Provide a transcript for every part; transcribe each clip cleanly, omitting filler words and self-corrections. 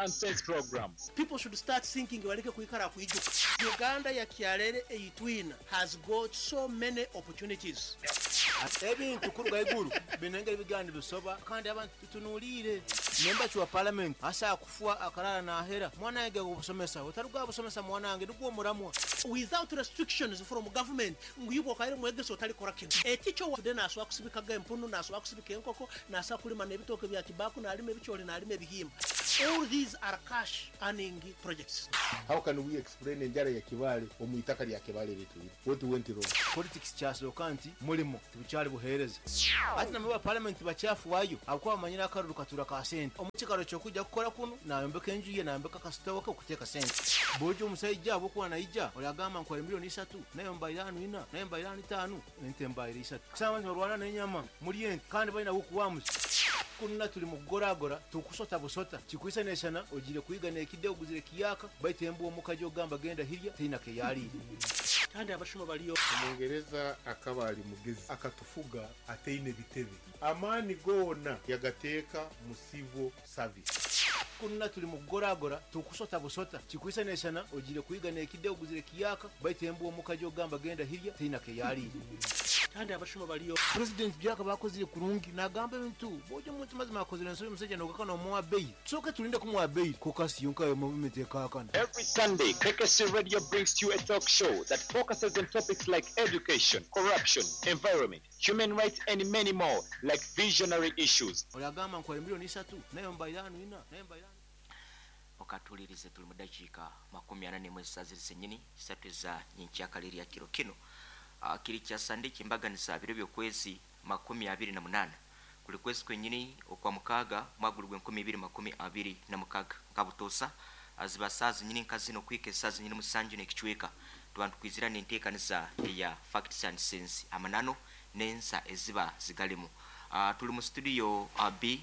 and Sense program. People should start thinking baleke kwikara kwijuka. Uganda ya kyarere eyitwina has got so many opportunities. Ebintu kuruga iguru binengera ebiganda bisoba, kandi abantu tutunuliire nemba wa parliament asa kufua akarara nahera mwana wange gubusomesa otaruga busomesa mwana wange nigwo omuramwa. Without restrictions from government, ngu ibo kaire mwegeso otalikora kintu. Eticho today nasobola kusibikaga empunu, nasobola kusibika enkoko, nasobola kulima n'ebitooke bya kibaku, nalima ebicholi, nalima ebihimba. All these are cash earning projects. How can we explain enjara ya Kibale omu itaka lya Kibale litwire? What went wrong? Politics kyasooka nti mulimo tibukyali buheereza, ati namwe ba parliament bakyafuwayo abakuba bamanyire akaruru katura ka sente. Omukikaro kyokujja kukora kuno nayombeka enju ye, nayombeka akasitowa ke okuteeka sente. Bwoja omusaija abwokuba naija olyagamba nkwere 3 million, nayo mbaire anu 4, nayo mbaire anu 5, ente mbaire 3. Kusanga abantu barwana n'enyama muri ente kandi balina gukuwamuza. Kunna tuli mu kugoragora tukusota busota kikwisa nesana ogire kuyiga nekide oguzire kiyaka baitu embwa omukaji ogamba genda hirya teina keyaliire. Kandi abashuma baliyo. Omungereza akaba ali mugezi, akatufuga ataine bitebe. Amaani goona yagateeka mu civil service. Kunna tuli mu kugoragora tukusota busota kikwisa nesana ogire kuyiga nekide oguzire kiyaka baitu embwa omukaji ogamba genda hirya teina keyaliire. Kandi abashuma baliyo. President byaka bakozire kurungi nagamba ebintu bojo omuntu mazima akozire ensobi omusajja nogaka nomuwa bail, tusooke tulinde kumuwa bail kokasi yonka yo movement ekakana. Every Sunday, KKC Radio brings to you a talk show that focuses on topics like education, corruption, environment, human rights, and many more, like visionary issues. Olyagamba nkwere 3 million, nayo mbaire anu 4, nayo mbaire anu. Okatulirize, tuli mu dakiika 41 ziri zenyini 3 eza nyenkyakale lya kiro kino. Kiri kya Sande kyembaganisa biro byokwezi 28, kuli kwezi kwenyini okwa mukaaga, mwaka guli gw'2026. Nkabutosa ziba saa zinyini nka zino kwika esaa zinyini 7 n'ekicweka, tuba ntukwizira n'enteekaniza eya Facts and Sense, amanano n'ensa eziba zigalimu. Tuli mu studio B,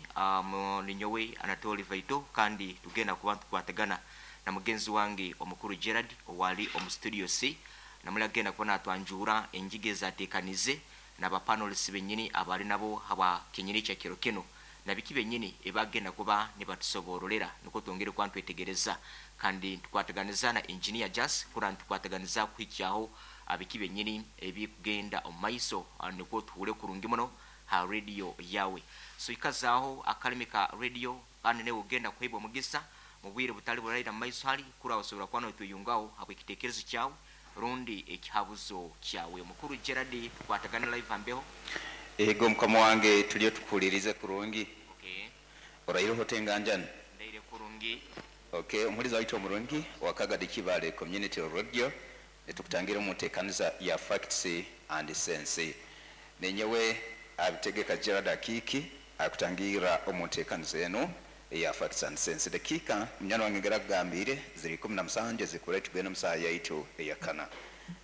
ninyowe Anatoli Vaito, kandi tugenda kuba ntukwatagana na mugenzi wange omukuru Gerard owali omu studio C, namuli agenda kuba natwanjura enjiga ezateekanize n'abapanelists benyini abali nabo haba kenyini kya kiro kino na biki benyini ebagenda kuba nibatusoborolera, niko twongere kuba ntwetegereza. Kandi tukwataganiza na Engineer Jas kura ntukwataganiza kuhikyaho biki benyini ebikugenda omu maiso, niko tuhure kurungi muno ha radio yawe. So ikazaaho akalimi ka radio, kandi newe ogenda kuheebwa omugisa mu bwire butali buraira mu maiso hali kura osobola kuba notweyungaho habw'ekitekerezo kyawe rundi ekihabuzo kyawe. Omukuru Gerard, tukwatagane live ambeho. Ego, mukama wange, tuliyo tukuhulirize kurungi. Okay. Oraireho tenganjani? Ndaire kurungi. Okay, omuhulizi waitu omurungi wa Kagadi Kibale Community Radio, nitukutangira omu nteekaniza ya Facts and Sense. Nenyewe abitegeka Gerard Akiki akutangira omu nteekaniza enu eya Facts and Sense. Dakiika, munyana wange, ngera kugambire ziri 17 zikura tugenda mu saaha yaitu eyakana.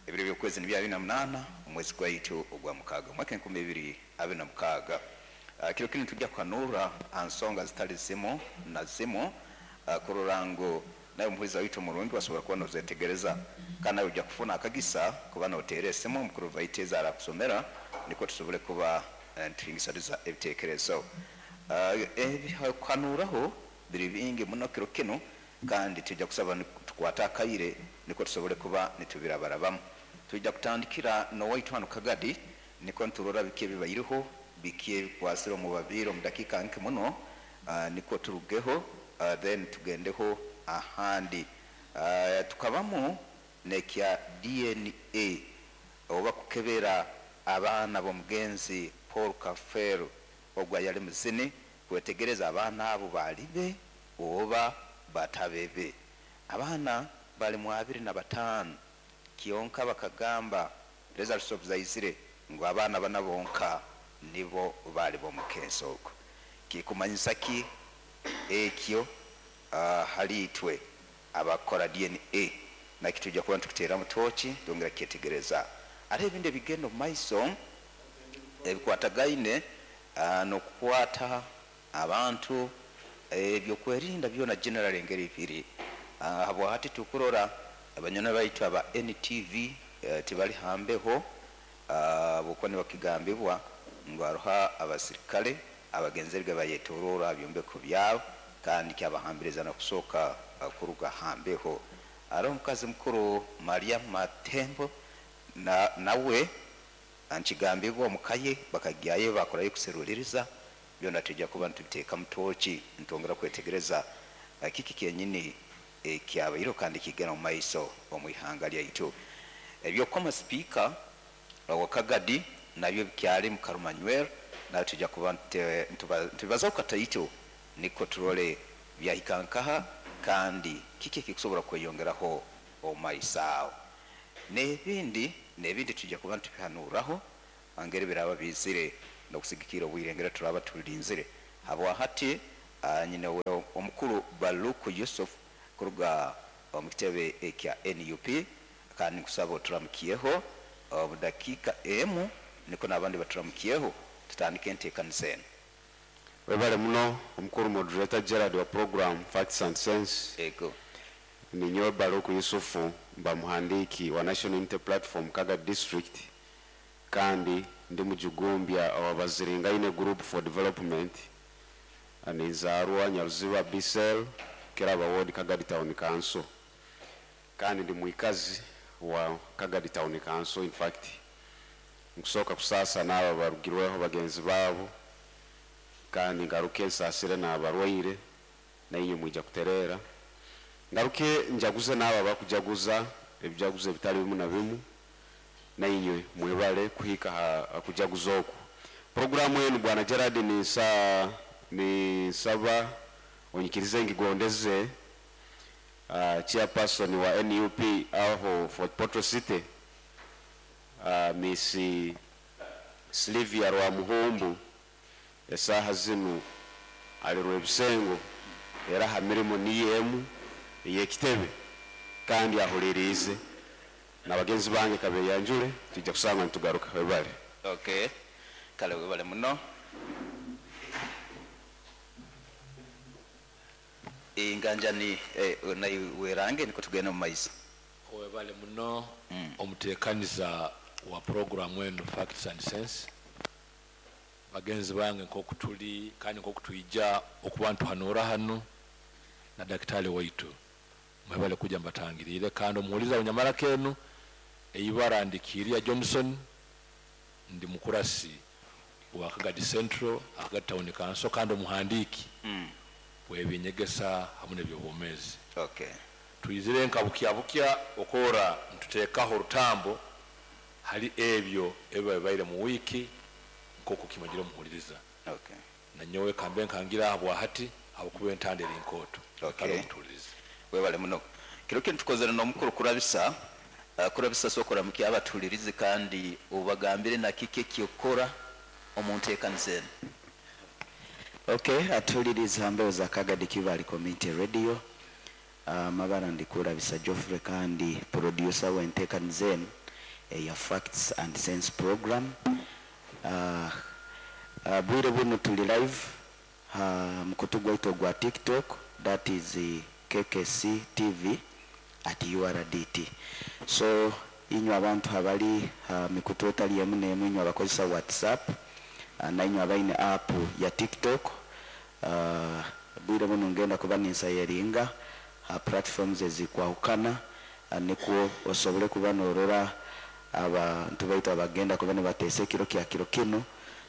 Ebiro by'okwezi ni 28 omwezi gwaitu ogwa mukaaga, mwaka 2026. Kiro kinu tujja kuhanura aha nsonga zitali zimu na zimu, kurora ngu nawe omuhulizi waitu omurungi wasobora kuba nozetegereza, kandi nawe ojja kufuna akagisa kuba noteera esimu omukuru Vaiteza arakusomera, nikwo tusobole kuba nituhingisaniza ebitekerezo. Ebikuhanuraho biri bingi muno kiro kinu, kandi tujja kusaba tukwate akaire nikwo tusobole kuba nitubirabarabamu. Tujja kutandikira nowaitu hanu Kagadi, nikwo niturora biki ebibaireho, biki ebikwasire omu babiire omu dakiika nke muno, nikwo turugeho, then tugendeho ahandi. Tukabamu nekya DNA oba kukebera abaana b'omugenzi Paul Kafeero ogwo yali muzini, kwetegereza abaana abo balibe oba batabebe. Abaana bali mu 25, kyonka bakagamba results of zaizire ngu abaana bana bonka nibo bali b'omukensi ogwo. Kikumanyisa ki ekyo hali itwe abakora DNA? Nakyo tujja kuba nitukuteeramu tooki twongera kukyetegereza. Ate ebindi ebigenda omu maiso ebikwatagaine n'okukwata abantu, ebyokwerinda byona general engeri biri habwahati, tukurora abanywana baitu aba NTV tibali hambeho, habwokuba nibakigambibwa ngu haroho abasirikale abagenzerege bayetorora ha byombeko byabo. Kandi kyabahambiriza n'okusooka kuruga hambeho. Aroho omukazi mukuru Maria Matembo nawe nkigambibwa omukaye bakagyayo bakorayo kuseruliriza byona. Tujja kuba nitubiteeka mutoki, ntwongera kwetegereza kiki kyenyini ekyabaireho kandi kigenda mu maiso omu ihanga lyaitu. Ebyokukoma sipiika wa Kagadi nabyo bikyali mu Karumanyweri, nayo tujja kuba ntubibazaho kataito niko turole byahika nkaha kandi kiki ekikusobora kweyongeraho omu maiso aho, n'ebindi n'ebindi tujja kuba nitubihanuraho ngeri biraba bizire n'okusigikira obwire ngeri turaba tulinzire. Habwa hati nyine we omukuru Baluku Yusuf kuruga omu kitebe ekya NUP, kandi nkusaba oturamukiyeho omu dakiika emu niko n'abandi baturamukiyeho, tutandike enteekaniza enu. Webale muno omukuru moderator Gerard wa program Facts and Sense. Ego. Ninyowe Baluku Yusufu, mba muhandiki wa National Unity Platform Kagadi District, kandi ndi mujugumbya wa Baziringaine Group for Development. Ninzaarwa Nyaruziba Bisel, Keraba Ward, Kagadi Town Council, kandi ndi mwikazi wa Kagadi Town Council. In fact, nkusooka kusaasa n'abo barugirweho bagenzi baabo, kandi ngaruke nsaasire n'abarwaire, nainywe mwija kutereera. Ngaruke njaguze n'abo abakujaguza ebijaguzo ebitali bimu na bimu, nainywe mwebale kuhika ha kujaguza oku. Programu enu, bwana Gerard, nisaba onyikirize ngigondeze chairperson wa NUP aho Fort Portal City, Miss Sylvia Rwamuhumbu. Esaaha zinu ali Rwebisengo, era ha mirimo niyo emu ey'ekitebe, kandi ahuliriize na bagenzi bange kabeyanjule, tujja kusanga nitugaruka. Webale. Okay, kale webale muno. Inganjani naye werange niko tugenda mu maiso. Webale muno omuteekaniza wa programu eno Facts and Sense. Bagenzi bange, nkoku tuli kandi nkoku twija okuba ntuhanura hano na dakitari waitu, mwebale kuja mbatangirire. Kandi omuhuliza bunyamara kenu, eibara ndikiria Johnson, ndi mukurasi wa Kagadi Central, Kagadi Town Council, kandi omuhandiki webinyegesa hamwe n'ebyobwomezi. Twizire nka bukya bukya okora ntuteekaho orutambo hali ebyo ebiba bibaire mu wiiki nk'oku kimanyire omuhuliriza. Nanyowe kambe nkangira aha bwahati habwokuba entanda eri nkooto. Kale omutuulirize. Webale muno. Kiro kinu tukozere n'omukuru Kurabisa. Kurabisa, sokora muki abatuhulirize kandi ubagambire na kiki ekyokora omu nteekaniza eno. Okay, atuuliriza mbeho za Kagadi Kibali Community Radio. Mabara ndikurabisa Geoffrey, kandi producer w'enteekaniza eno eya Facts and Sense program. Bwire buno tuli live mukutu gwaitu ogwa TikTok, that is KKC TV at URDT. So inywe abantu abali mikutu etali emu n'emu, inywe abakozesa WhatsApp, nainywe abaine app ya TikTok, bwire buno ngenda kuba ninsayeringa platforms ezikwahukana, nikwo osobole kuba norora abantu baitu abagenda kuba nibateesa ekiro kya kiro kino,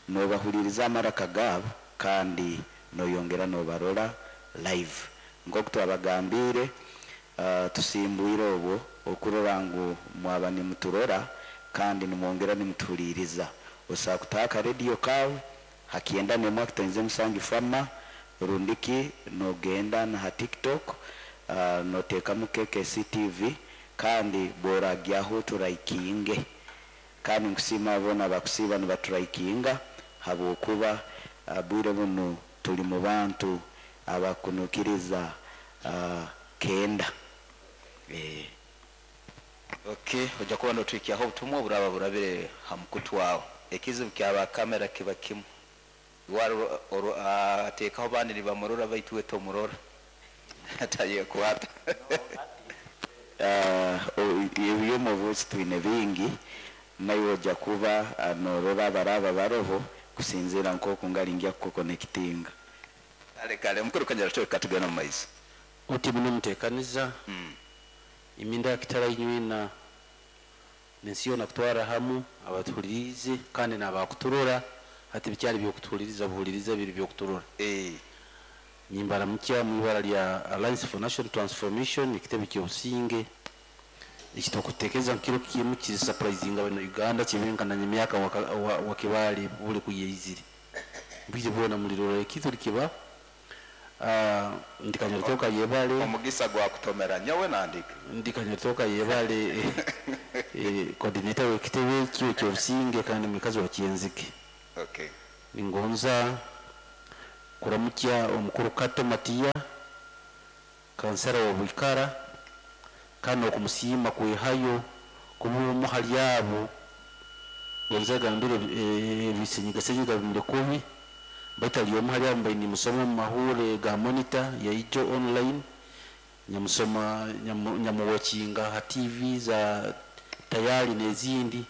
nobahuliriza amaraka gaabo kandi noyongera nobarora live. Nk'oku twabagambire, tusimbwire obwo okurora ngu mwaba nimuturora kandi nimwongera nimutuhuliriza. Osobola kutaha akarediyo kawe hakyenda nemwe akitoinze musanju fama, rundiki nogenda na ha TikTok, noteekamu KKC TV, kandi bworagyaho turaikinge. Kandi nkusiima bona abakusiiba nibaturaikinga, habwokuba bwire buno tuli mu bantu abakunukiriza kenda. Okay, ojja kuba notwikyaho obutumwa oburaba burabire ha mukutu wawe. Ekizibu kyaba kamera kiba kimu, ateekaho bandi nibamurora baitu we tomurora, atayekwata. Ebyomubuzi twine bingi, nawe ojja kuba norora abaraba baroho kusinziira nk'oku ngalingia kukonekitinga. Kale kale, omukuru Kanyaratoke, katugenda mu maiso. Oti muno mutekaniza iminda yakitara inywena nensi yoona kutwara hamu abatuhulirize kandi n'abakuturora. Hati bikyali byokutuhuliriza buhuliriza, biri byokuturora. Nimbaramukya mu ibara lya Alliance for National Transformation, ekitebe ky'obusinge ekitokutekereza nkiro kimu kiri surprising abana Uganda kibenkana emyaka wakibali buli kuyeizire bwire bwona mulirora ekitu likiba. Ndikanyaritoka yebale. Omugisa gwa kutomera nyowe nandika. Ndikanyaritoka yebale, coordinator w'ekitebe kyo ky'obusinge kandi mukazi wa Kyenzike. Ningonza kuramukya omukuru Kato Matiya, kansara wa Bwikara, kandi okumusiima kwehayo kuba omu hali abo gonza gambire ebisenyigasenyiga bimire kubi, baitu ali omu hali abo mbaire nimusoma mu mahure ga Monitor ya ijo online, nyamusoma nyamuwakinga ha TV za tayari n'ezindi,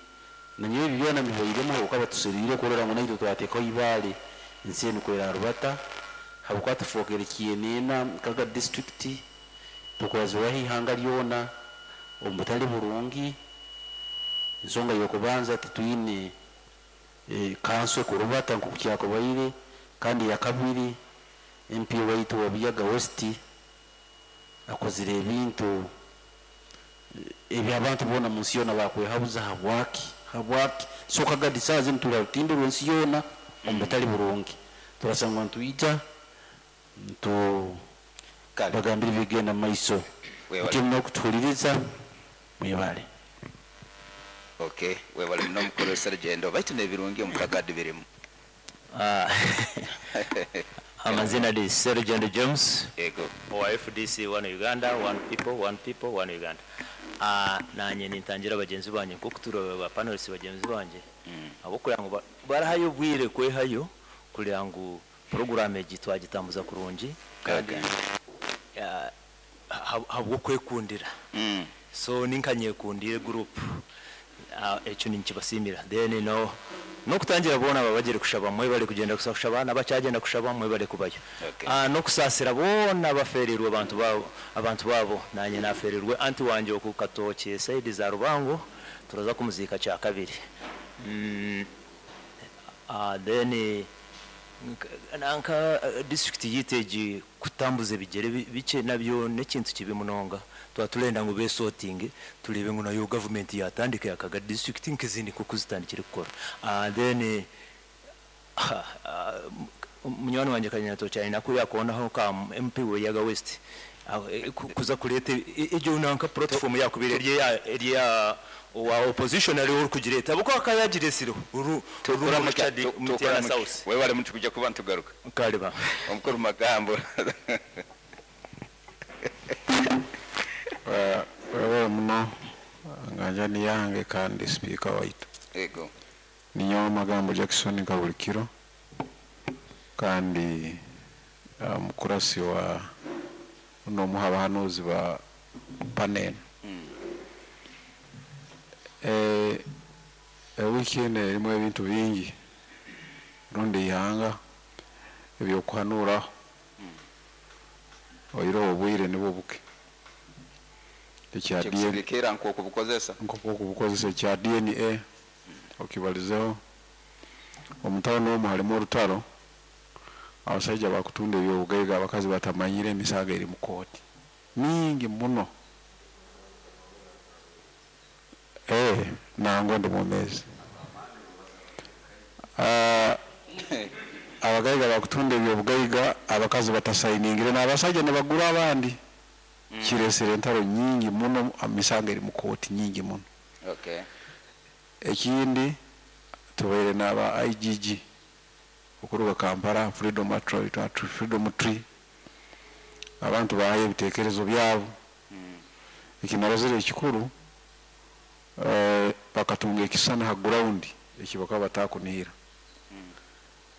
nanyowe ebi byona bibairemu okaba tuserire kurora ngu naitwe twateekaho ibaale ensi enu kwera rubata habwokuba tufookere kienena Kaga district, tukurazibwaho ihanga lyona omu butali burungi. Ensonga y'okubanza, titwine kanso ekurubata nk'oku kyakubaire, kandi yakabiri, MP waitu wa Buyaga West akozire ebintu ebyabantu boona mu nsi yoona bakwehabuza habwaki. So Kagadi saaha zinu tuli ha rutindo rw'ensi yoona omu butali burungi, turasangwa nitwija ntu bagambire ebigenda mu maiso. Muti n'okutuhuliriza, mwebale. Okay, webale muno mukuru Serugendo, baitu n'ebirungi omu Kagadi birimu. Amazina ni Serugendo James. Yego. Wa FDC, One Uganda, One People, One People, One Uganda. Nanye nintangira bagenzi banje nkuko turaba ba panelists bagenzi banje abo kugira ngo barahayo obwire kwehayo kugira ngu program egi twagitambuza kurungi kandi habwo kwekundira. So ninkanyekundire group, ekyo ninkibasimira. Then no nokutangira bona babagire kushaba, mwe bali kugenda kushaba n'abacyagenda kushaba, mwe bali kubayo. Nokusasira bona baferirwe abantu babo, abantu babo. Nanye naferirwe anti wanje okukatoke side za Rubango, turaza kumuzika cya kabiri. Then nanka district yiteji kutambuza ebigere bike nabyo nekintu kibi munonga, twatulenda ngu besorting tulebe ngu nayo government yatandika yakaga district nkizindi kuko zitandikire gukora. Then munywani wanje Kanyato cyane nako yakonaho ka MP we Yaga West kuza kureta ejyo nanka platform yakubire rye wa opposition ari uri kugireta buko akayagiresiro uru uru South. Wewe wale mtu kuja kuba ntugaruka. Kariba. Omukuru magambo. Wewe muno nganja ni yange kandi speaker waitu. Yego. Ninyo magambo Jackson Kabulikiro kandi mukurasi wa no muhabahanuzi ba panel. Weekend erimu ebintu bingi rundi ihanga ebyokuhanuraho oiro obwire nibwo buke ekya DNA nkokubukozesa nkokubukozesa ekya DNA okibalizeho omutano omwo halimu orutaro, abasajja bakutunda ebyobugaiga, abakazi batamanyire emisango eri mu kooti mingi muno. Nango ndi mwomezi. Abagaiga bakutunda ebyobugaiga, abakazi batasayiningire n'abasajja ne bagura abandi. Kiresere entaro nyingi muno, emisango eri mu kooti nyingi muno. Ekindi tubaire n'aba IGG okuruga Kampala, Freedom Tree, Freedom Tree, abantu bahaye ebitekerezo byabo. Ekinarozere ekikuru, bakatunga ekisana ha ground ekibaka batakunihira.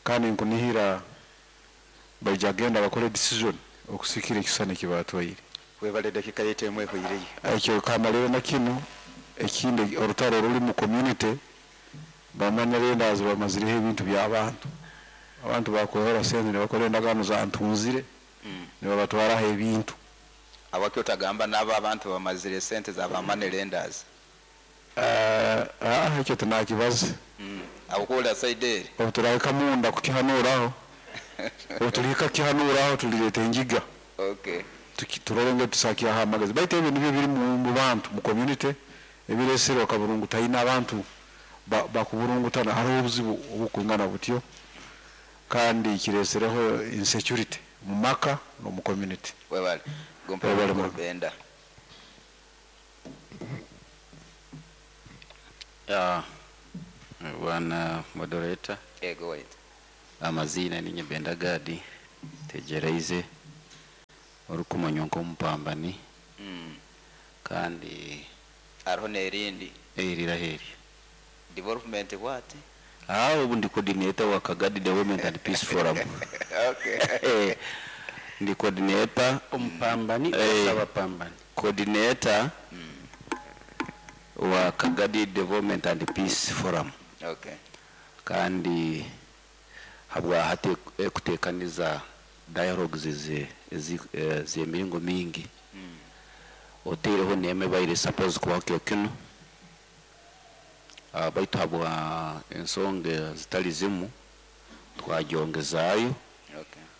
Kandi nkunihira baija genda bakore decision okusikira ekisana ekibatwaire. Webale dakika yetu emwe hoireyo. Ekyo kamalero na kino ekindi orutaro ruri mu community bamanya rendazi bamazireho ebintu by'abantu. Abantu bakwehora sente nibakora endagaano za ntunzire, nibabatwaraho ebintu. Abaki otagamba n'abo abantu bamazire sente za ba money lenders? Ekyo tinakibaze. Abukuwulira side eri. Obu turahika munda kukihanuuraho, obu tulihika kukihanuuraho tulireeta engiga. Turole ngu tusakiaho amagezi. Baitu ebyo nibyo biri mu bantu, mu community, ebiresere okaburungu taina abantu bakuburungutana, hariho obuzibu obukwingana butyo, kandi kiresereho insecurity mu maka n'omu community. Webale. Gompa Webale muno. Benda. Bwana moderator. Ego wait. Amazina ninye Benda Gadi tegereize orukumanywa nk'omupambani. Kandi hariho n'erindi. Eriraheri. Development what? Ubu ndi coordinator wa Kagadi Development and Peace Forum. Ndi coordinator omupambani abapambani. Coordinator wa Kagadi Development and Peace Forum. Kandi habwa hati kutekaniza dialogues z'emiringo mingi. Otereho neme baire suppose kubaho kyo kino. Baitu habwa ensonga zitali zimu twagyongezayo.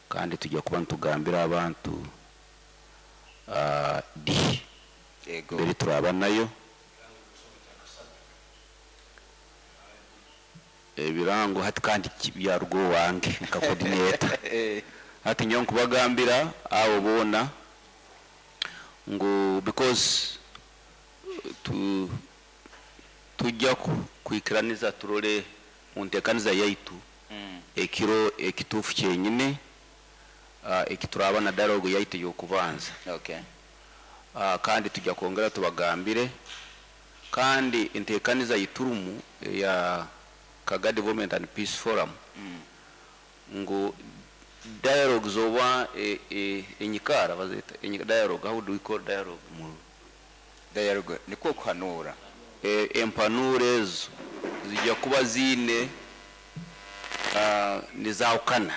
Kandi tujya kuba ntugambira abantu di mbere turaba nayo ebirango hati kandi byarugo wange nka coordinator. Hati nyo nkubagambira abo bona ngo because tujya kwikiraniza turole mu ntekaniza yaitu ekiro ekitufu kyenyine ekituraba na dialogue yaitu yokubanza. Kandi tujya kongera tubagambire kandi intekaniza yiturumu ya Kagadi Development and Peace Forum ngo dialogue zoba enyikara bazeta dialogue, how do we call dialogue mu dialogue niko kuhanura empanure ezo zijya kuba zine nizahukana.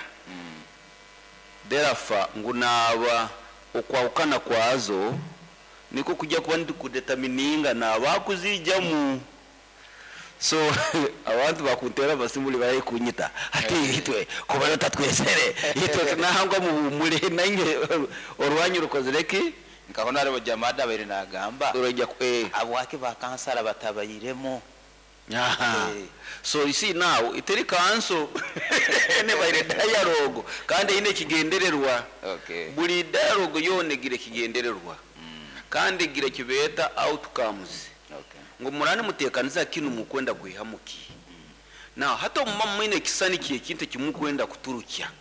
Therefore ngu naba okwahukana kwazo niko kujya kuba ndikudetermininga nabakuzijyamu. So abantu bakuntera basimuli bari kunyita ati itwe kuba tatwesere itwe nahangwa mu nange orwanyu rukozereki nkabona ari bajamada bari nagamba urajya abwake ba kansara batabayiremo. So you see now iteri kanso ne bayire dialogue kandi ine kigendererwa. Buri dialogue yone gire kigendererwa kandi gire kibeta outcomes. Ngo murane mutekaniza kinu mukwenda kuihamuki. Now hato mama mwine kisani kiye kintu kimukwenda kuturukya.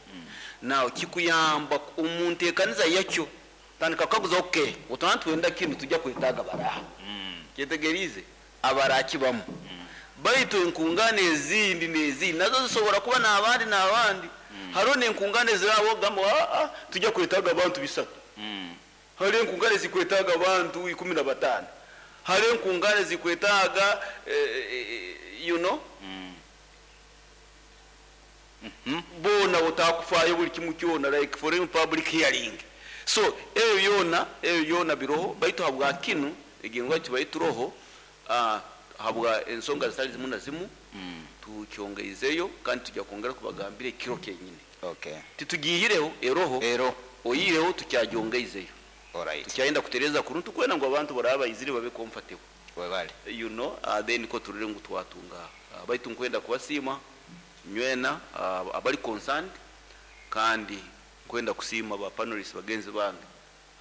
Now kikuyamba umuntekaniza yakyo tandika kaguza okay utantu wenda kinu tujya kwetaga baraha. Kyetegerize abarakibamo. Baitu enkungane ezindi nezi nazo zisobora kuba nabandi nabandi. Haro nenkungane zirabo gamba tujya kwetaga abantu bisatu. Haro enkungane zikwetaga abantu 15. Haro enkungane zikwetaga you know bona utakufayo buli kimu kyona like foreign public hearing. So eyo yona biroho baitu habwa kinu egengwa kibaituroho habwa ensonga zitali zimu na zimu tukyongeizeyo kandi tujya kongera kubagambire kiro kenyine. Titugiyireho eroho oyireho tukyajongeizeyo. Tukyayenda kutereza kuruntu kwena ngo abantu baraba izire babe comfortable. You know then ko turire ngo twatunga baitu nkwenda kubasima nywena abali concerned kandi nkwenda kusima ba panelists bagenzi bange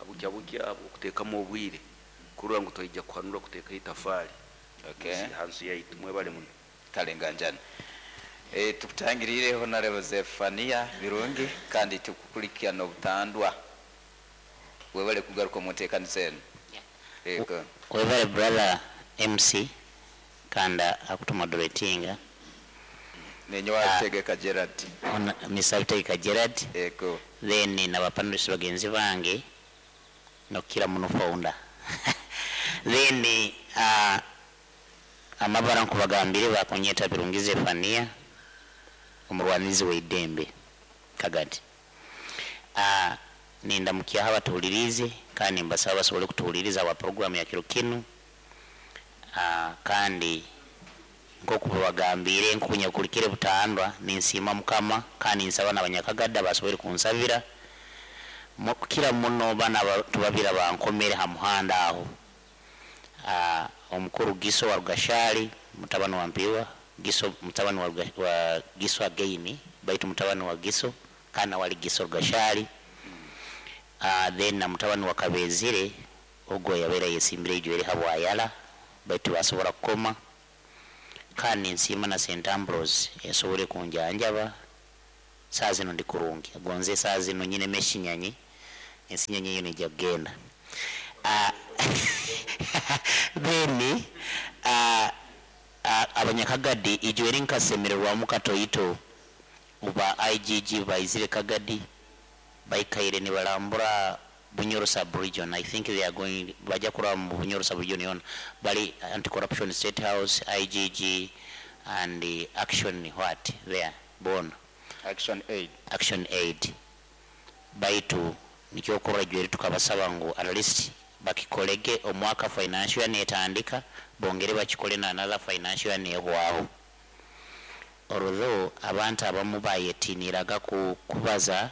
abukya bukya okutekamo obwire kurura ngo toyijja kuhanura kuteka itafari. Hansu yaitu mwebale muno kalenganjana. Tukutangirire Honorable Zephania Birungi kandi tukukulikia obutandwa webale kugaruka mu nteekaniza eno. Webale brother MC kanda akutumoderatinga nenye wategeka Gerard. Mr. Tegeka Gerard. Ego. Then n'abapanelists bagenzi bange nokira muno founder. Then amabara nkubagambire bakonyeta Birungi Zephania omurwanizi w'eddembe. Kagadi. Nindamukyaho abatuhuliriize kandi mbasaba basobole kutuhuliriza wa programu ya kiro kinu. Kandi nkoku babagambire nkunyakulikire butandwa, ninsiima Mukama kandi nsaba n'abanyakagada basobole kunsabira. Kira muno bana tubabira bankomere ha muhanda aho. Omukuru Giso wa Rugashali, mutabani wa Mpiwa, Giso mutabani wa Giso againi, baitu mutabani wa Giso kana wali Giso Rugashali. Then na mutabani wa Kabezire ogwo yabeera yesimbire ijo eri habwayala, baitu basobora kukoma. Kandi nsiima na St Ambrose esobole kunjanjaba. Saa zino ndi kurungi, gonze saa zino nyine meshinyanyi, ensinyanyi eyo nijja kugenda. Then abanyakagadi ijo eri nkasemererwamu katoito uba IGG baizire Kagadi baikaire nibalambura Bunyoro sub-region. I think they are going baja kuraba mu Bunyoro sub-region yona, bali anti-corruption state house, IGG and the action what there bona Action Aid. Action Aid. Baitu nikyokorwa jweri tukabasaba ngu at least bakikolege omwaka financial year netandika, bongere bakikole na another financial year nehwaho. Although abantu abamu bayetiniraga kubaza,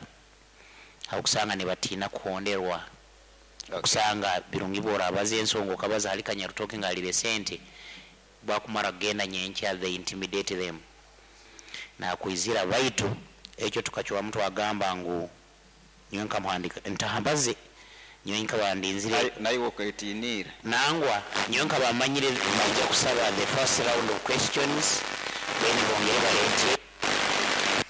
okusanga ne batiina kuhonderwa. Okusanga birungi bw'orabaza ensonga okabaza hali Kanyarutoke ng'alire sente, bwakumara kugenda nyenkya they intimidate them. Nakwizira baitu ekyo tukacwamu twagamba ngu nyowe nkamuhandika ntahambaze, nyowe nkabandinzire naye okwetinira nangwa nyowe nkabamanyire bajja kusaba the first round of questions, then bongere balete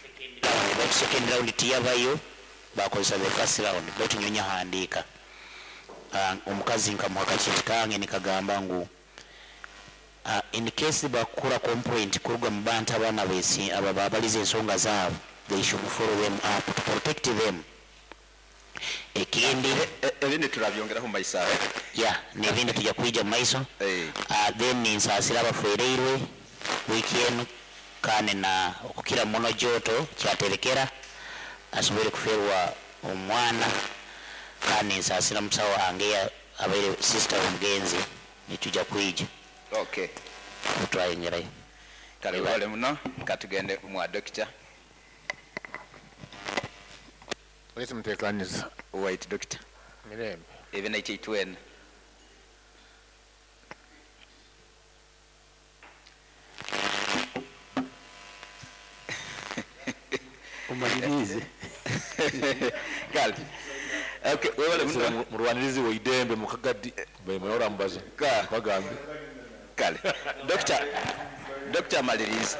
second round, but second round tiyabayo, bakozesa the first round, baitu nyowe nyahandiika. Omukazi nkamuha akakiti kange nikagamba ngu in case bakura complaint kuruga mu bantu abaana besi aba babaliza ensonga zaabo, they should follow them up to protect them. Ekindi ebindi turabyongeraho mu maiso aho. Ya, n'ebindi tujja kwija mu maiso. Then ninsaasira abafereirwe wiiki enu, kandi na okukira muno Joto kyaterekera asobole kuferwa omwana, kandi nsaasira musawo wange abaire sister omugenzi, nitujja kwija. Otwayongerayo. Kale wale muno, katugende mwa doctor. Wese mutekaniza. White doctor. Mirembe. Ebe na itwena. Umalirize. Kale. Okay, wewe muno. Murwanirizi wa idembe mukagadi bemuyora mbazo. Bagambe. Kale. Doctor, Doctor Maliriza.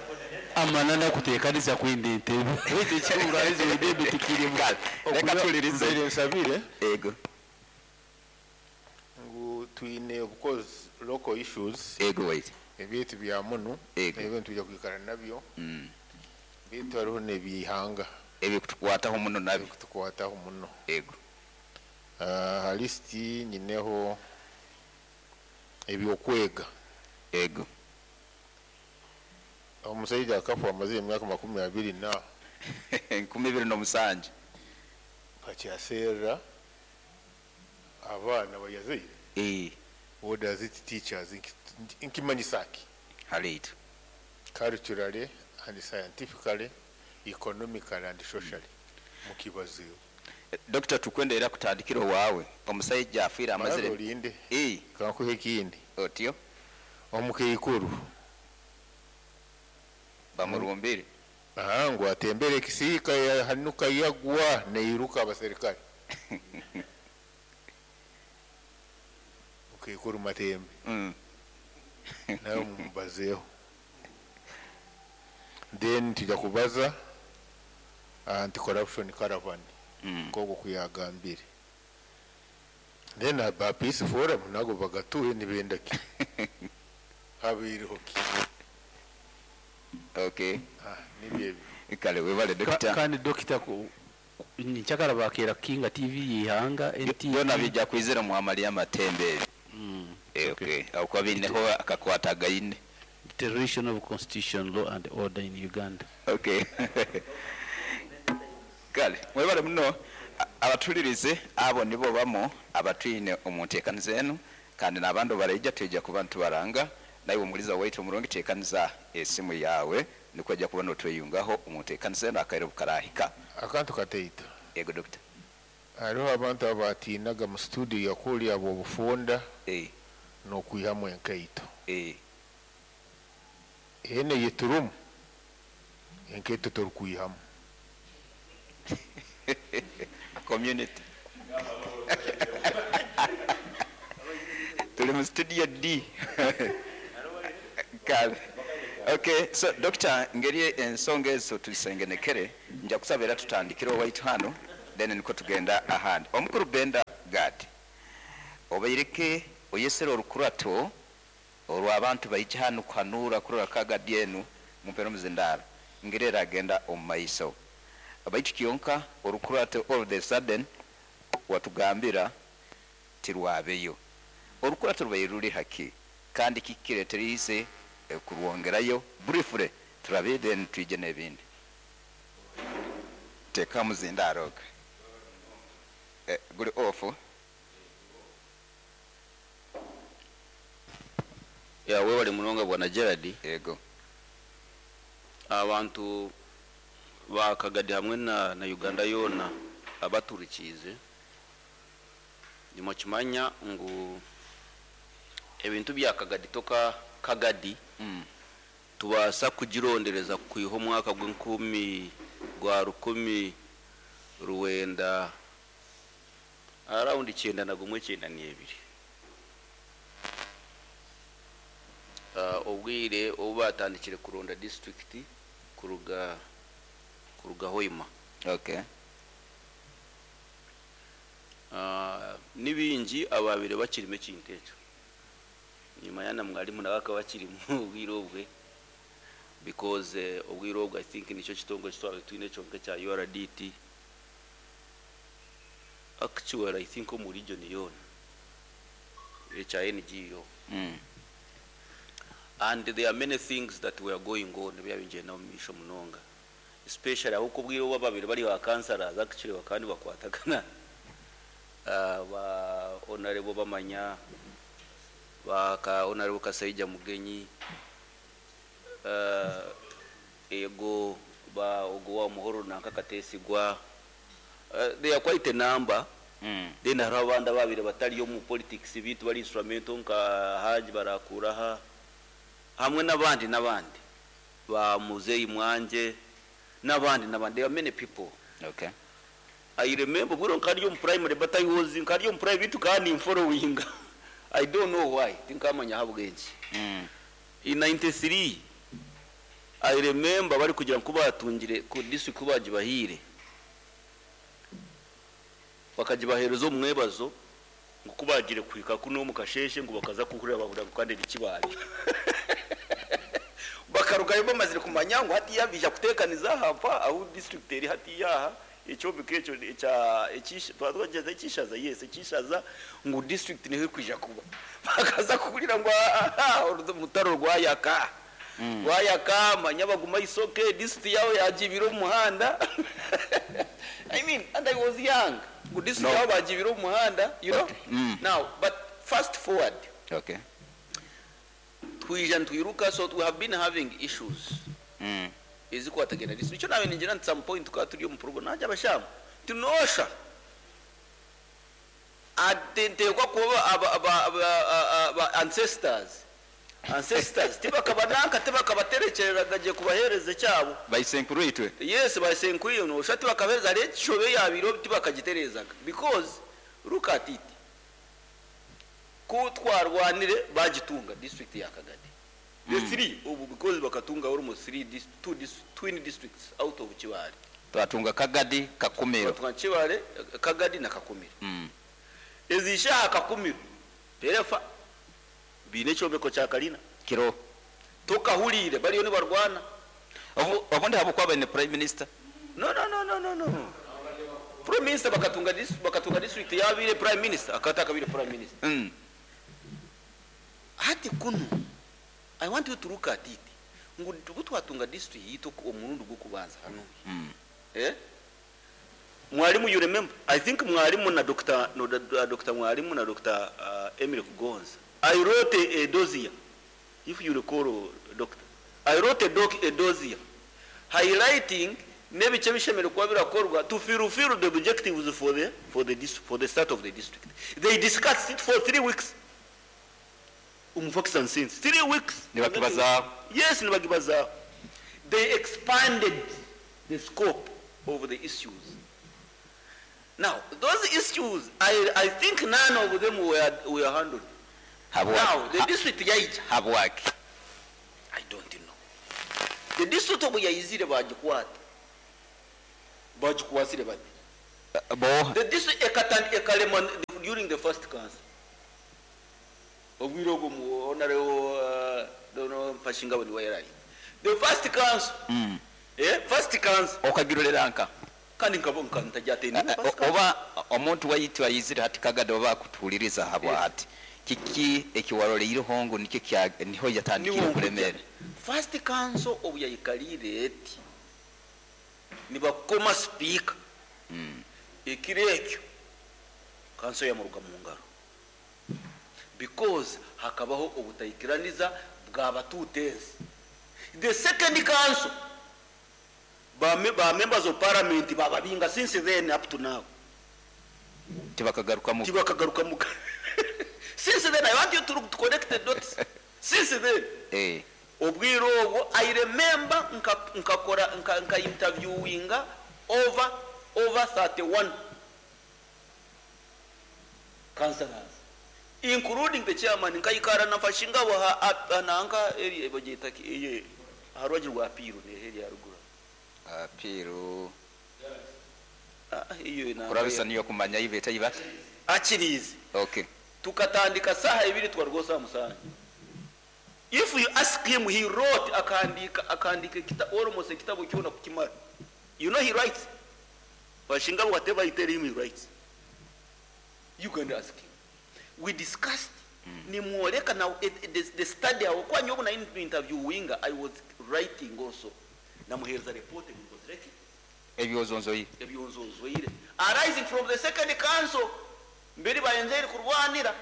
Amanana kuteekaniza kwenda entebe. Wete ekirwanizi wa idembe tikirimu. Kale. Reka tulirize. Nzire nsabire. Ego. Ngu twine of course local issues. Ego wait. Ebintu bya muno. Ego. Ebintu tujja kwikara nabyo. Bitu hariho n'ebihanga. Ebikutukwataho muno nabyo. Ebikutukwataho muno. Ego. Ha listi nyineho ebyokwega. Ego. Omusajja akafa amaze emyaka makumi abiri na 27. Bakyaseera abaana bayazaire. What does it teach us? Nkimanyisaki? Halitu. Culturally and scientifically, economically and socially. Mukibaziyo. Doctor, tukwenda era kutandikira wawe. Omusajja afiira amazire. Olinde. Kankuhe ekindi. Otyo. Omukeikuru. Bamurumbire. Ngu atembere ekisiika yahanuka yagwa neiruka abaserikale. Mukeikuru Matembe. Nawe mumubazeeho. Then tujja kubaza anti-corruption caravan. Nk'okwo kuyagambire. Then aba peace forum nago bagatuhe nibenda ki? Habiiriho ki? Okay. Nibyo ebyo. Kale webale doctor. Kandi doctor nchakala bakera Kinga TV yihanga NTV. Byona bijja kwizira mu amali amatembe. Okay. Aho bineho akakwata gaine. Deterioration of constitution, law and order in Uganda. Okay. Kale mwebale muno abatulirize abo nibo bamo abatwine omu nteekaniza enu, kandi n'abandi baraija twija kuba nitubaranga. Naiwe omuliza waitu omurungi, teekaniza esimu yawe nikwo ojja kuba notweyungaho omu nteekaniza enu akaire bukarahika. Akantu kataito. Ego doctor. Hariho abantu abatinaga mu studio yakuli abo obufunda n'okwihamu enkaito. Ene yeturumu enkaito torukwihamu. Community. Tuli mu studio D. Kale. Okay, so doctor, ngeri ensonga ezo tuzisengenekere, nja kusaba era tutandikire owaitu hano, then niko tugenda ahandi. Omukuru Benda Gad, obaireke oyesere orukurato olw'abantu baija hano kuhanura kurora Kagadi enu mumpero muzindaro ngeri eragenda omu maiso. Baitu kyonka orukurato all the sudden watugambira tirwabeyo. Orukurato rubaire ruri haki kandi kikireterize kurwongerayo? Briefly turabe, then twije n'ebindi. Teka muzindaro guri off. Ya, webale munonga bwana Gerard. Yego. Abantu ba Kagadi hamwe na Uganda yona abaturikize, nimukimanya ngu ebintu bya Kagadi toka Kagadi tubasa kugirondereza kwiha omwaka gw'enkumi gwa rukumi ruwenda around 91, 92. Obwire obu batandikire kuronda district kuruga Hoima. Nibingi ababire bakirimo ekintu ekyo. Nyuma yana mwalimu nawe akaba akirimu obwire obwe, because obwire obwe I think nicyo kitongole kitwaba twine kyonka kya URDT. Actually I think omu region yona ekya NGO. And there are many things that were going on byabinjye na misho munonga, especially aho kubwira obo babiri bari ba councillors actually bakandi bakwatagana, ba honorable bamanya ba ka honorable Kasaija Mugenyi, ego ba ogo wa Muhoro nanka Katesigwa, they are quite a number. Then hari abandi babiri batari yo mu politics bitu bari instrumental nka Haji barakuraha hamwe n'abandi n'abandi ba Muzeyi Mwanje n'abandi n'abandi. There are many people. I remember bwiro nkari yo mu primary, but I was nkari yo mu private kandi following. I don't know why, tinkamanya habwenki. In 93 I remember bari kugira ngo batungire ku district bagibahire, bakagibahereza umwebazo ngo kubagire kwika kuno mu kasheshe, ngo bakaza kuhurira bahura kandi nikibari bakarugayo bamazire kumanya ngo hati yabija kutekaniza hapa aho district eri hati yaha ekyombeko ekyo ekya twageze ekishaza, yes, ekishaza ngo district niho kwija kuba. Bakaza kuhurira ngo mutaro rwayaka rwayaka manya baguma isoke district yawe yagibira umuhanda. I mean, and I was young. Ngo district yawe bagibira umuhanda, you know? Now, but fast forward. Twija ntwiruka, so we have been having issues. Ezikwatagana district. Icyo nawe ningira at some point tukaba turi mu program najya abashamu tunosha atentekwa kuba aba ancestors tibakabananka tibakabaterekereraga giye kubahereza cyabo. Bayisenkuru itwe. Yes, bayisenkuru iyo nosha tibakabereza rero shobe yabiro tibakagiterezaga, because look at it, kutwarwanire bagitunga district ya Kagadi. The three ubu because bakatunga almost three two twin districts out of Kibale. Twatunga Kagadi, Kakumiro. Twatunga Kibale, Kagadi na Kakumiro. Ezisha Kakumiro perefa bine kyombeko kya Kalina kiro tukahulire bariyo ni barwana. Obundi habo kwaba ni prime minister. No, no, no, no, no, no. Prime minister bakatunga district yabire prime minister akataka bire prime minister. Hati kuno I want you to look at it. Ngo twatunga district yito omurundi gwo kubanza hano. Mwalimu, you remember, I think Mwalimu na Dr. no, Dr. Mwalimu na Dr. Emily Kugonza. I wrote a dossier, if you recall, doctor. I wrote a dossier highlighting n'ebice bishemereire kuba birakorwa to fulfill the objectives for the start of the district. They discussed it for 3 weeks. Facts and sense. 3 weeks. Nibakibazaho. Yes, nibakibazaho. They expanded the scope of the issues. Now, those issues, I think none of them were handled. Now, the district yaija. Habwaki? I don't know. The district obu yaizire bagikwata. Bagikwasire bati. Bo. The district ekatan ekalema during the first council. Obwire obwo mu honorable dono Mfashingabo niwe yarari. The first council. First council. Okagirolera nka? Kandi nkabo nkantajatende. Oba omuntu waitu ayizire hati Kagadi, oba akutuuliriza habwa hati kiki ekiwaroleireho ngu nikyo niho yatandikire Niho. kulemera? First council obu yayikalire eti nibakoma speaker, ekiro ekyo council yamuruga mu ngaro because hakabaho obutayikiraniza bw'abatutezi. The second council, ba members of parliament bababinga. Since then up to now Tibakagarukamu. Tibakagarukamu. Since then, I want you to connect the dots. Since then, obwire obwo I remember nkakora nka interviewinga over 31 councillors, including the chairman. Nkayikara nafashingabo nanka eri bagita iye harwaji rwa Piru ne eri haruguru. Piru. Ah, iyo nanga. Kurabisa niyo kumanya ibeta ibata. Akirizi. Okay. Tukatandika saha 2, twarwo saa 7. If you ask him, he wrote, akandika almost ekitabo kyona kukimara. You know he writes Bashinga, whatever you tell him, he writes. You can ask him. We discussed, nimwoleka now the study awo kwa nyobo na interviewinga. I was writing also, namuhereza report ngozireki. Ebyozonzoyi. Ebyonzonzoire arising from the second council mbere bayenzeri kurwanira.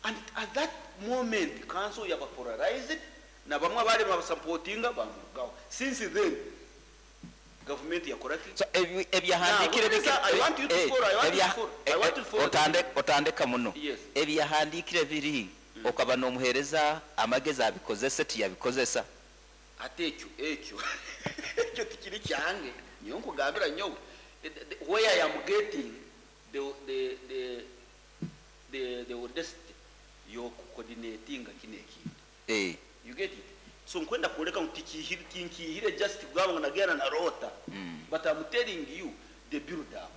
And at that moment council yaba polarized na bamwe bari babasupportinga bamugaho. Since then government yakora ki? So ebyahandikire Now, I want you to follow, I want you to follow, I want you to follow. Otandeka muno. Yes. Ebyahandikire biri okaba n'omuhereza amagezi abikozese, tiyabikozesa. Ate ekyo tikiri kyange. Niyo nkugambira nyowe where I am getting the audacity yokucoordinatinga kino ekintu. You get it? So nkwenda kuleka ngu tinkihire just kugamba ngu nagenda na rota, but I'm telling you the build up.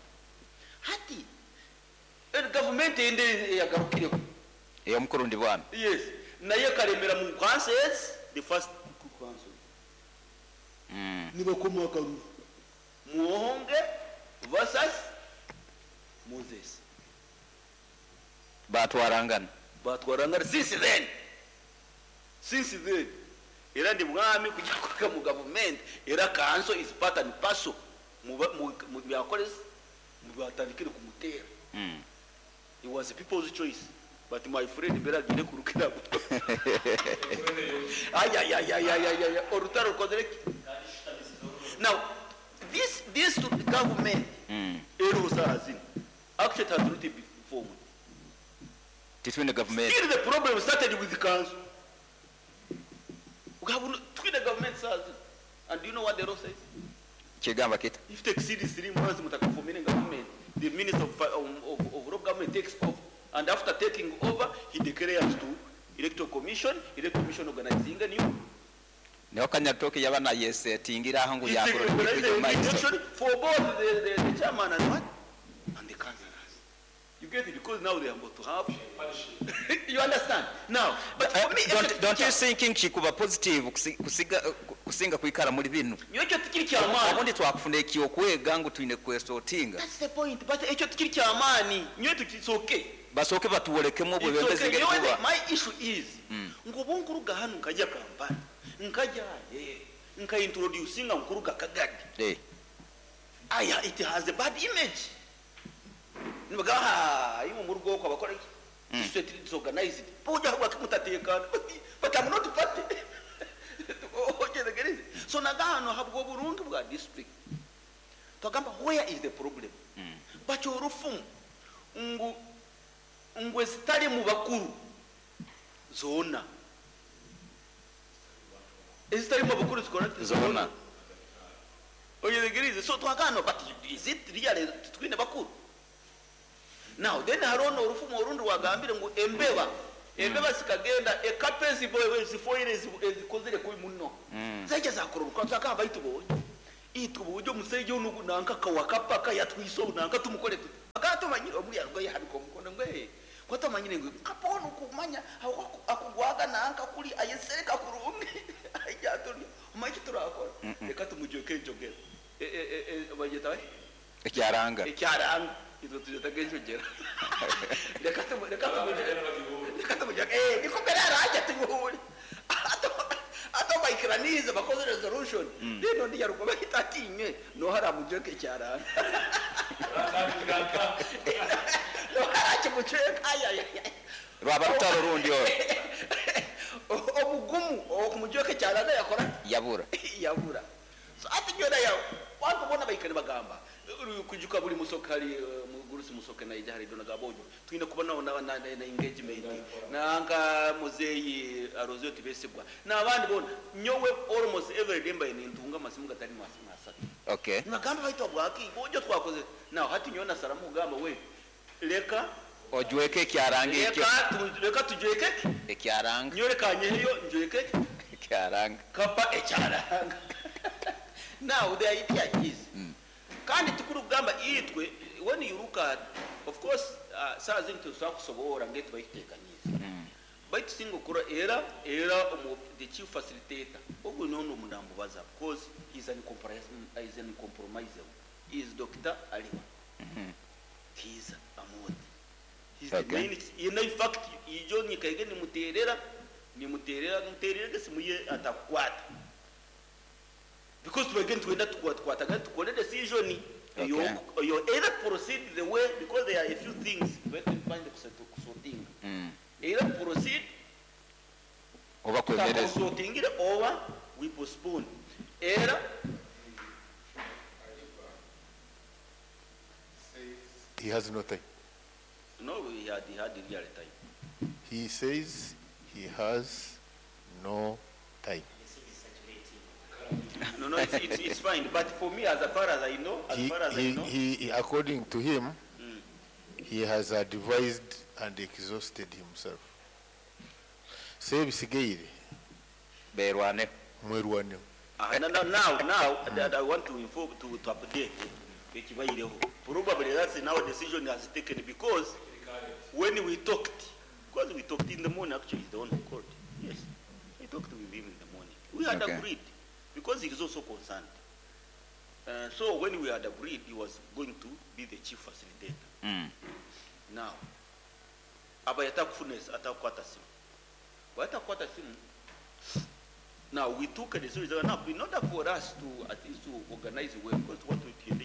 Hati government ende yagarukireho. Ey'omukurundi bwami. Yes, naye karemera mu councils. The first council, nibakoma akaruru, Muhonge versus Moses. Batwarangana. Batwarangana. Since then era ndi mwami kujya kuka mu government, era council is part and parcel mu byakolesa mu batandikire kumutera. It was a people's choice, but my friend mbere agire kurukira ayayayayayaya orutaro rukozere ki. Now this to the government ero zino actually it has not been formed. Titwine government. Still the problem started with the council. We have twine government says, and do you know what the law says? Kigamba kita? If it exceeds 3 months mutakaforming government, the minister of local government takes over, and after taking over he declares to electoral commission, electoral commission organizing a new Niho Kanyatoke yaba nayesetingira aho ngu He yakora. organizes the election for both the chairman and what and the councillors. You get it? Because now they are about to have, you understand now? But for me, Don't you think kikuba positive kusiga kusinga kwikara muri bino? Ekyo tikiri kyamaani. Obundi twakufuna ekyokwega ngu twine kwesotinga. That's the point, but ekyo tikiri kyamaani nyowe it's okay. Basooke batuwolekemu It's obwebembezi okay. ngeri Nyowe kuba. My issue is ngu nkuruga hano nkajya Kampala, nkajya nkaintroducinga nkuruga Kagadi. Aya, it has a bad image. Nibagamba imwe mu rugo abakora iki? District disorganized. Boja habwa mutatekana. But I'm not party. Ojetegereze. So nagano habwo burungi bwa district. Twagamba, where is the problem? Bacho orufumu ngu ngwe zitali mu bakuru zona. Ezitali mu bakuru zikora Zona. Oyegereze. So twagano, but is it really twine bakuru? Now then harono orufumu orundi wagambire ngu embeba zikagenda ekape zifoire ezikozire kubi muno. Zaija zakororoka twakaba baitu bonye itwe uburyo musejo nugu nanka kawakapaka yatwiso nanka tumukore tuti akatumanyire omuri yarwo yahabika omukono ngwe kwatamanyire ngwe kapono kumanya akugwaga nanka kuri ayesereka kurungi ajaturi umaiki turakora. Reka tumujoke njogera bageta bari Ekyaranga. Ekyaranga itwe tujetaga enjogera. Reka tumujoke niko mbere araja tumuhure ato baikiranize bakoze resolution. Rero ndi yaruko bahitatinye no haramujoke ekyaranga no harakimujoke aya. Rwaba rutaro rundi oro. Omugumu okumujoke ekyaranga yakora yabura yabura. So ati nyona ya wantu bona baikani bagamba kujuka buri musoka hari mugurusi musoke na ijahari dona gabojo twine kubona na engagement nanga muzeyi arozyo tibesigwa nabandi bona nyowe almost every day mbaye nintunga masimu gatari masimu asatu. Okay. Nagamba baitwa bwaki bojo twakoze now hati nyona saramu gamba we leka ojweke ekyaranga ekyo. Leka tujweke ekyaranga nyoreka nyeyo njweke ekyaranga kapa ekyaranga. Now the idea is kandi tukurugamba itwe when you look at of course saa zindi tusobola kusobola ngetu bayitekaniza baitu singa okura era the chief facilitator ogwo nono omunambubaza because he's an uncompromisable. He is Dr. Aliwa. He's Amoti. He's the main, in fact ijo nyikaige nimuterera gesimuye atakwata because tubageni twenda tukwataga tukole decision. Okay. You either proceed the way because there are a few things we can find the sorting. Either proceed oba kwemereza sorting over we postpone. Either he has no time. No, he had real time. He says he has no time. No, it's fine. But for me, as far as I know, he, according to him, he has advised and exhausted himself. Say bisigaire. Berwane. Mwerwane. Now, I want to inform to update. Probably that's now decision has taken because when we talked, in the morning, actually, he's the one who called. Yes, I talked with him in the morning. We had agreed. Because he is also concerned. So when we had agreed, he was going to be the chief facilitator. Now, now we took a decision. Now, in order for us to at least to organize well, because what we can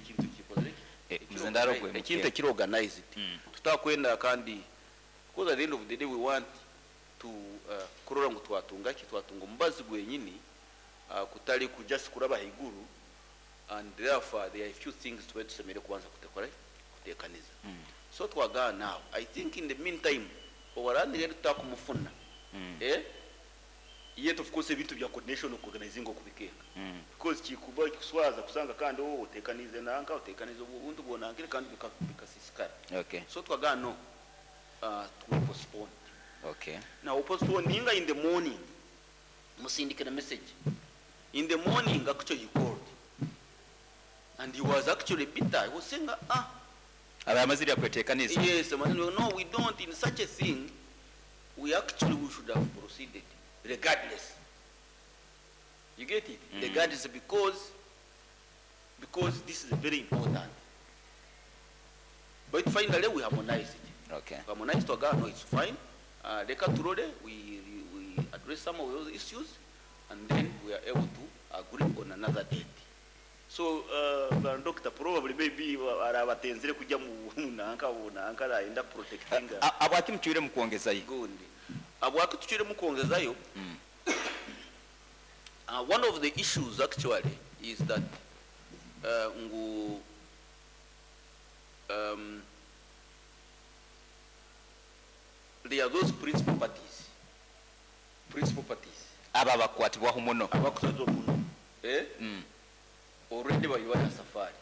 organize it. Tutakwenda kandi because at the end of the day we want to kurora ngu twatunga ki twatunga omubazi gwenyini kutali kujust kuraba higuru, and therefore there are a few things tusemere kubanza kutekaniza. So twaga now I think in the meantime owarandire tutakumufuna yet of course ebintu bya coordination organizing okubikeka because kikuba kuswaza kusanga kandi otekanize nanka otekanize ubuntu bwonankire kandi bikasisikara. Okay. So twaga no to postpone. Okay. Now postpone ninga in the morning musindike na message. In the morning, actually, he called. And he was actually bitter. He was saying, Yes, no, we don't. In such a thing, we should have proceeded, regardless. You get it? Regardless, because this is very important. But finally, we harmonized it. Okay. Harmonized to no, it's fine. We address some of those issues, and then we are able to agree on another date. So bwana doctor, probably maybe arabatenzire kujya mu nanka nanka arayenda protectinga. Abwaki mucwire mu kwongezayo? Gundi abwaki tucwire mu kwongezayo? One of the issues actually is that ngu there are those principal parties, principal parties. Aba bakwatibwaho muno. Abakwatibwaho muno, eh? Already bali safari,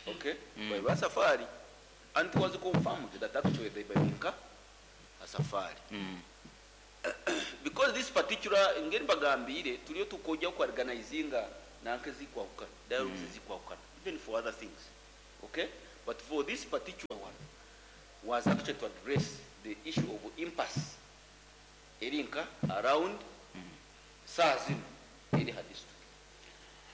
okay? Bali safari, and it was confirmed that actually they bali a safari. Because this particular ngeri bagambire tuliyo tukojja ku organizinga nanke zikwawukana, dialogues zikwawukana, even for other things, okay? But for this particular one was actually to address the issue of impasse erinka around saa zino eri ha district.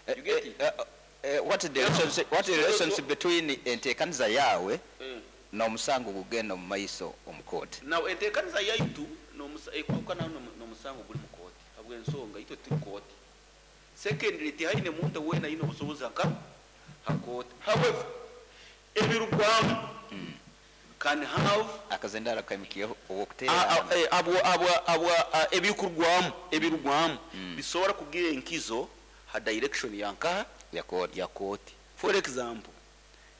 You get it? What is the relationship, what is the relationship between enteekaniza yawe n'omusango gugenda mu maiso omu kooti? Now enteekaniza yaitu ekwawukana n'omusango guli mu kooti habw'ensonga itwe turi kooti. Secondly, tihaine muntu weena aine obusobozi aka ha kooti. However, ebirugwamu can have akazendara kaimukiyeho ow'okuteera. Ebikurwamu ebirugwamu bisobora kugira enkizo ha direction yankaha ya kooti. Ya kooti. For example,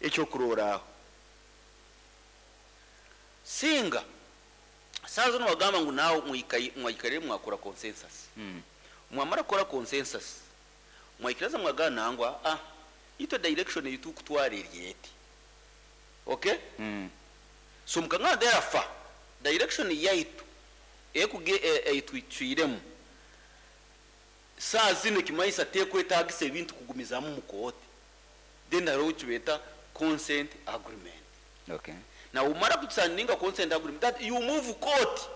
ekyokuroraaho singa saa zino wagamba ngu naawe mwaikarire mwakora consensus. Mwamara kukora consensus, mwaikiriza mwagana nangwa itwe direction yitukutwara eri eti, okay? So mukangana therefore direction yaitu ekuge eitwicwiremu saa zino kimaisa tekwetagisa ebintu kugumizamu mu kooti. Then hariho kibeta consent agreement. Now umara kusaninga consent agreement, that you move court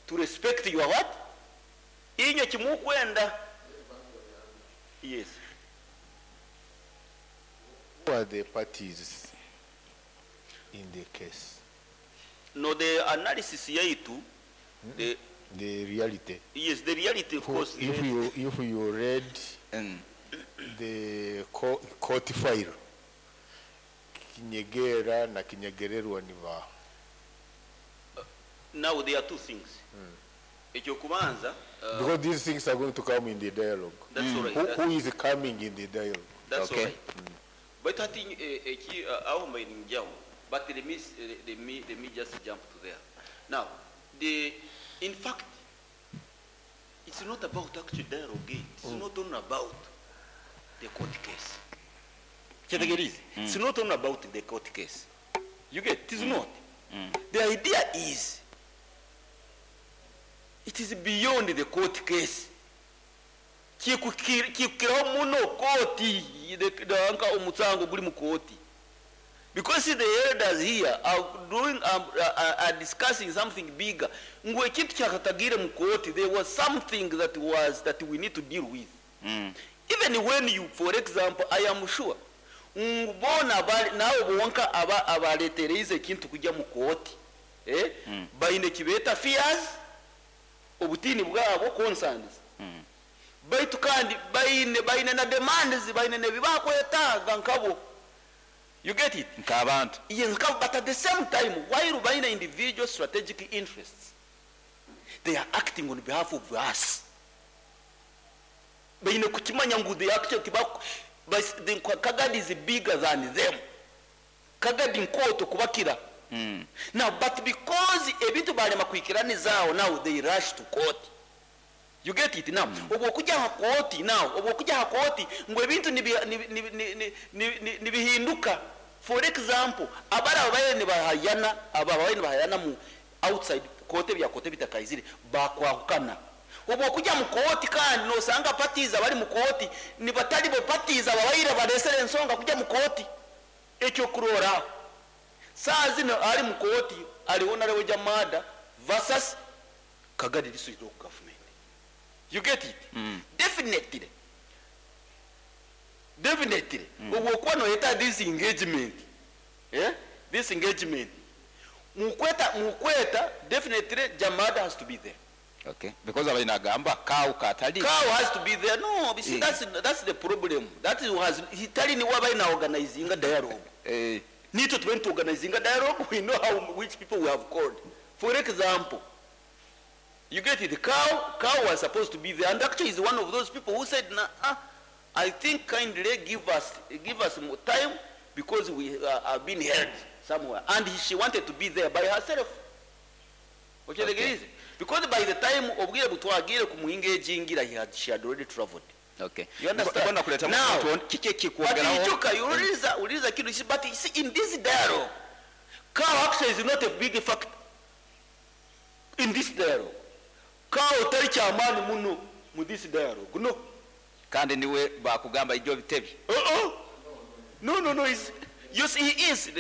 to respect your what? Inyo kimukwenda. Yes. Who are the parties in the case? No, the analysis yaitu, the The reality. Yes, the reality, of course. If you read the court file, Kinyegera na Kinyegererwa ni ba. Now there are two things. Ekyokubanza, Because these things are going to come in the dialogue. That's all right. Who is coming in the dialogue? That's all right. But hati eki aho mbaye ninjaho. But let me just jump to there. Now, the in fact, it's not about actual dialogue. It's not only about the court case. Kyetegereze. It's not only about the court case. You get it is not. The idea is it is beyond the court case. Kikukiraho muno kooti nka omusango guli mu kooti, because see, the elders here are doing are discussing something bigger, ngu ekintu kyakatagire mu kooti, there was something that we need to deal with. Even when you, for example, I am sure ngu bona nawe bonka aba abaletereize ekintu kujya mu kooti, eh? Baine kibeeta fears, obutiini bwabo, concerns, baitu kandi baine na demands, baine nebibakwetaaga nkabo. You get it? Nk'abantu. Yes, nkabo. But at the same time, while baine individual strategic interests, they are acting on behalf of us. Baine kukimanya ngu they actually the Kagadi is bigger than them. Kagadi nkoto kubakira. Now, but because ebintu balema kwikiranizaho, now they rush to court. You get it now? Obwo okujja ha kooti, now obwo okujja ha kooti ngu ebintu nibihinduka. For example, abara babaire nibahayana, aba babaire nibahayana mu outside kooti, bya kooti bitakaizire, bakwahukana. Obwo okujja mu kooti kandi nosanga parties abali mu kooti nibatali bo parties ababaire balesere ensonga kujja mu kooti. Ekyokurora, saa zino ali mu kooti ali Honorable Jamada versus Kagadi District Local Government. You get it? Definitely, definitely, obwo okuba noyeta this engagement, eh? This engagement mukweta, definitely Jamada has to be there. Okay, because abaina agamba kawu katali. Cow has to be there. No, you see, that's the problem. That is has hitali ni waba ina organizing a dialogue. Need to went to organizing a dialogue. We know how which people we have called. For example, you get it. Cow was supposed to be there, and actually is one of those people who said, "Nah, I think kindly give us more time because we are being held somewhere," and she wanted to be there by herself. Okay. Because by the time obwire butwagire ku muhinga he had she had already traveled. You understand? Mbona kuleta Now, mtu kiki but kikuongeraho? Ijuka, uliza kitu, but you see, in this dialogue, cow actually is not a big factor in this dialogue. Cow tari kyamaani muno mu this dialogue. No. Kandi niwe bakugamba ijjo bitebi. Uh-uh. No, you see, he is.